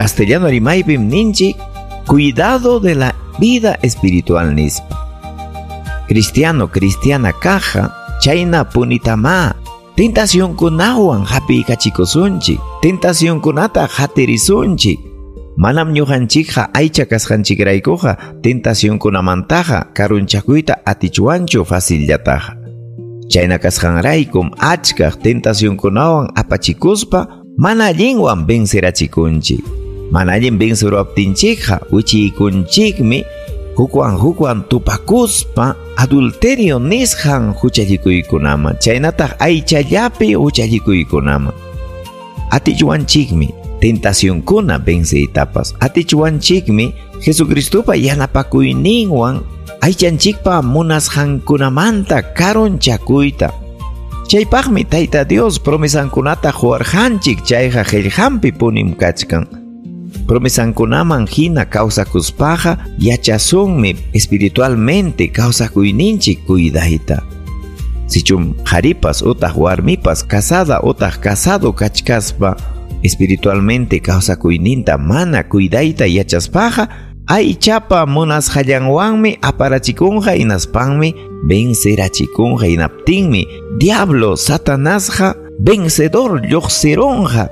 Castellano rimaypim ninchik cuidado de la vida espiritual nispa. Cristiano, cristiana kaqqa chayna punitama tentacionkunawan hapiykachikunchik, tentacionkunata hatirisunchik. Manam ñuqanchikqa aycha kasqanchikraykuqa tentacionkunamantaqa karunchakuyta atichwanchu facillataqa. Chayna kasqanraykum achkaq tentacionkunawan apachikuspa mana allinwan vencerachikunchik. Mana allin venceruaptinchikqa wichiykunchikmi hukwan hukwan tupakuspa adulterio nisqan huchallikuykunaman, chaynataq aychallapi huchallikuykunaman. Atichwanchikmi tentacionkuna venceytapas. Atichwanchikmi Jesucristopa yanapakuyninwan aychanchikpa munasqankunamanta karunchakuyta. Chaypaqmi Tayta Dios promesankunata quwarqanchik, chayqa qillqanpi punim kachkan. Promesankunaman hina kawsakuspaqa yachasunmi espiritualmente kawsakuyninchik cuidayta. Sichum qharipas utaq warmipas casada utaq casado kachkaspa espiritualmente kawsakuyninta mana cuidayta yachaspaqa aychapa munasqallanwanmi aparachikunqa hinaspanmi vencerachikunqa, hinaptinmi diablo Satanasqa vencedor lluqsirunqa.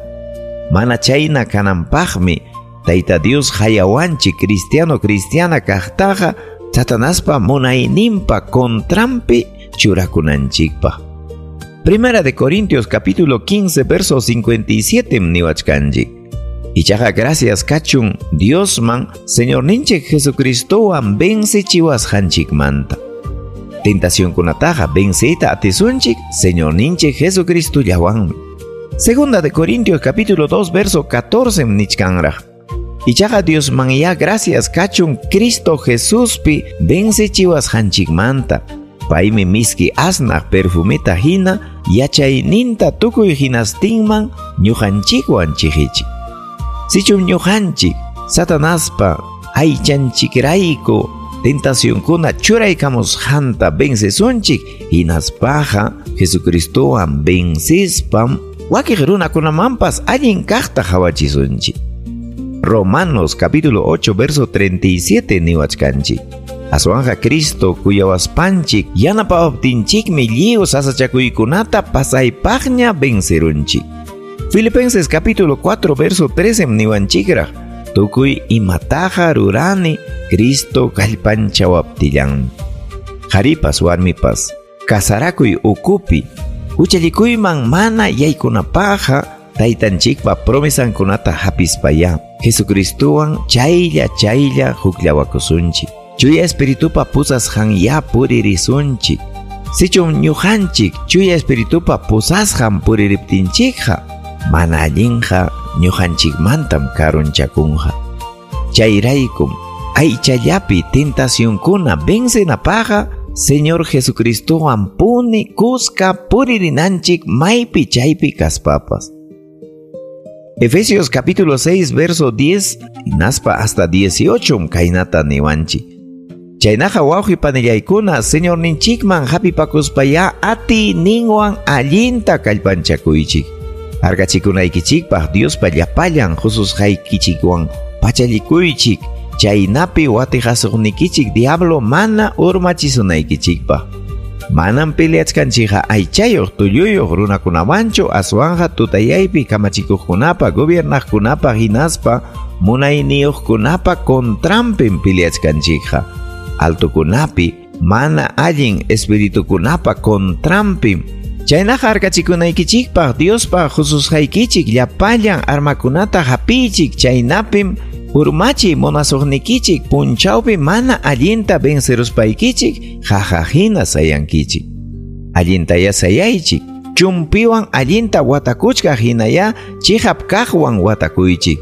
Mana chayna kananpaqmi Tayta Dios hayawanchik cristiano cristiana kaqtaqa Satanaspa munayninpa contranpi churakunanchikpaq. Primera de Corintios capítulo 15 verso 57 niwachkanchik. Ichaqa gracias kachun Diosman Señorninchik Jesucristowan vencechiwasqanchikmanta. Tentacionkunataqa venceyta atisunchik Señorninchik Jesucristollawanmi. Segunda de Corintios capítulo 2 verso 14 nichkanraq. Ichaqa Diosman ya gracias kachun Cristo Jesuspi vencechiwasqanchikmanta. Paymi miski asnaq perfumita hina yachayninta tukuy hinastinman ñuqanchikwan chiqichik. Sichum ñuqanchik Satanaspa aychanchikrayku tentacionkuna churaykamusqanta vencesunchik, hinaspaqa Jesucristowan vencispam wakiq runakunamanpas allin kaqta qawachisunchik. Romanos capítulo 8 verso 37 niwachkanchik. Aswanja Cristo kuyawaspanchik yanapawaptinchikmi lliw sasachakuykunata pasaypaqña vencerunchik. Filipenses capítulo 4 verso 13 niwanchikraq. Tukuy imataqa rurani Cristo kallpanchawaptillan. Qharipas warmipas kasarakuy ukupi huchallikuyman mana yaykunapaqqa taytanchikpa promesankunata hapispaya Jesucristowan chaylla chaylla hukllawakusunchik. Chuya Espiritupa pusasqan ya puririsunchik. Sichum ñuqanchik Chuya Espiritupa pusasqan puririptinchikqa mana allinqa ñuqanchikmantam karunchakunqa. Chayraykum aychallapi tentacionkuna vencenapaqqa Señor Jesucristowan puni kuska puririnanchik maypi chaypi kaspapas. Efesios capítulo 6 verso 10 naspa hasta 18 kaynata niwanchik. Chaynaqa wawqi panillaykuna Señorninchikman hapipakuspaya atiyninwan allinta kallpanchakuychik. Harkachikunaykichikpaq Diospa llapallan hususqaykichikwan pachallikuychik, chaynapi watiqasuqnikichik diablo mana urmachisunaykichikpaq. Manam peleachkanchikqa aychayuq tulluyuq runakunawanchu, aswanqa tutayaypi kamachikuqkunapa, gobiernaqkunapa hinaspa munayniyuqkunapa contranpim peleachkanchikqa. Altokunapi mana allin espiritukunapa contranpim. Chaynaqa harkachikunaykichikpaq Diospa hususqaykichik llapallan armakunata hapiychik, chaynapim urmachi munasuqnikichik punchawpi mana allinta venceruspaykichik qaqahina sayankichik. Allintaya sayaychik, chumpiwan allinta watakuchkaq hinaya chiqap kaqwan watakuychik.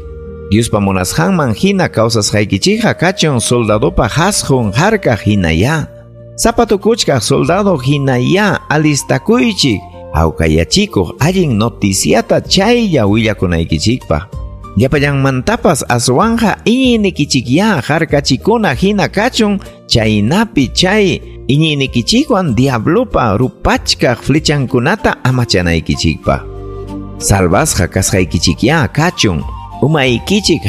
Diospa munasqanman hina kawsasqaykichikqa kachun soldadopa hasqun harkaq hinaya. Zapatukuchkaq soldado hinaya alistakuychik, hawkayachikuq allin noticiata chaylla willakunaykichikpaq. Llapallanmantapas aswanja iñiynikichikya harkachikuna hina kachun, chaynapi chay iñiynikichikwan diablopa rupachkaq flechankunata amachanaykichikpaq. Salvasqa kasqaykichikya kachun, Umaykichik.